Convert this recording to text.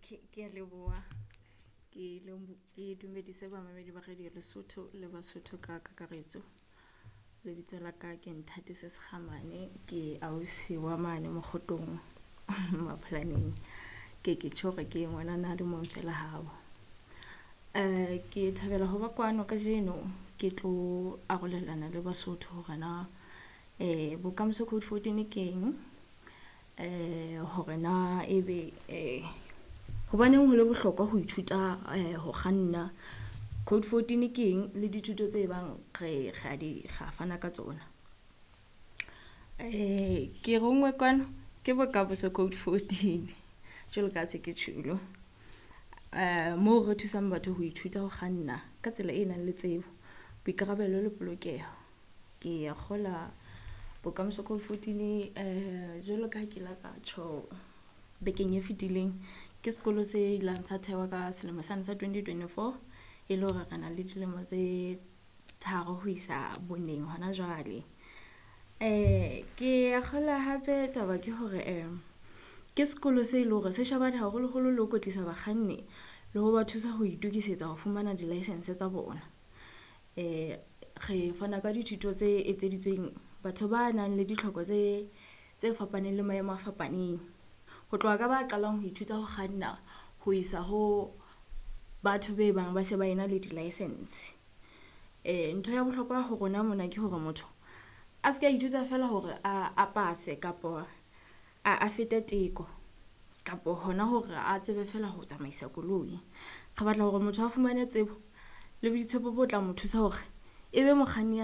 Ke a leboha. Ke dumedise bamamedi ba Radio Lesotho le Basotho ka kakaretso. Lebitso la ka ke Nthatisi Sekgamane, ke ausi wa mane Mokgotong Mapholaneng. Ke ke tjho hore ke ngwanana a le mong fela habo. Ke thabela ho ba kwano kajeno ke tlo arolelana le Basotho hore na Bokamoso Code 14 keng, hore na ebe hobaneng hole bohlokwa ho ithuta ho kganna. Code 14 ke eng le dithuto tse bang re ra di ra fana ka tsona. Ke rongwe kwano ke Bokamoso Code 14 jwalo ka ha se ke tjholo. Moo re thusang batho ho ithuta ho kganna ka tsela e nang le tsebo, boikarabelo le polokeho. Ke a kgola Bokamoso Code 14 jwalo ka ha ke la ka tjho bekeng e fitileng, ke sekolo se ilang sa thewa ka selemo sane sa 2024. E le hore re na le dilemo tse tharo ho isa boneng hona jwale. Ke a kgola hape taba ke hore ke sekolo se leng hore se shebane haholoholo le ho kwetlisa bakganni le ho ba thusa ho itokisetsa ho fumana di-licence tsa bona. Re fana ka dithuto tse etseditsweng batho ba nang le ditlhoko tse fapaneng le maemo a fapaneng. Ho tloha ka ba qalang ho ithuta ho kganna ho isa ho batho be bang ba se ba ena le di-licence. Ntho ya bohlokwa ho rona mona ke hore motho a seka ithuta fela hore a pase kapo a fete teko kapo hona hore a tsebe fela ho tsamaisa koloi. Re batla hore motho a fumane tsebo le boitshepo bo tla mo thusa hore ebe mokganni ya.